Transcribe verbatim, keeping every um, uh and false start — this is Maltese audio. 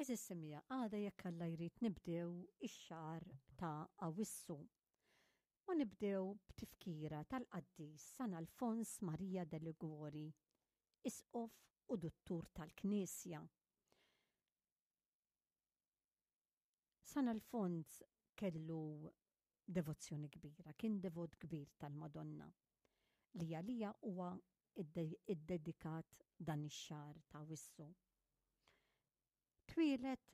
Għeżież semmiegħa, għada jekk Alla jrid nibdew ix-xahar ta' Awwissu. U nibdew b'tifkira tal-qaddis San Alfons Maria de Liguori, isqof u duttur tal-Knisja. San Alfons kellu devozzjoni kbira, kien devot kbir tal-Madonna li għalija huwa iddedikat dan ix-xahar ta' Awwissu. Twieled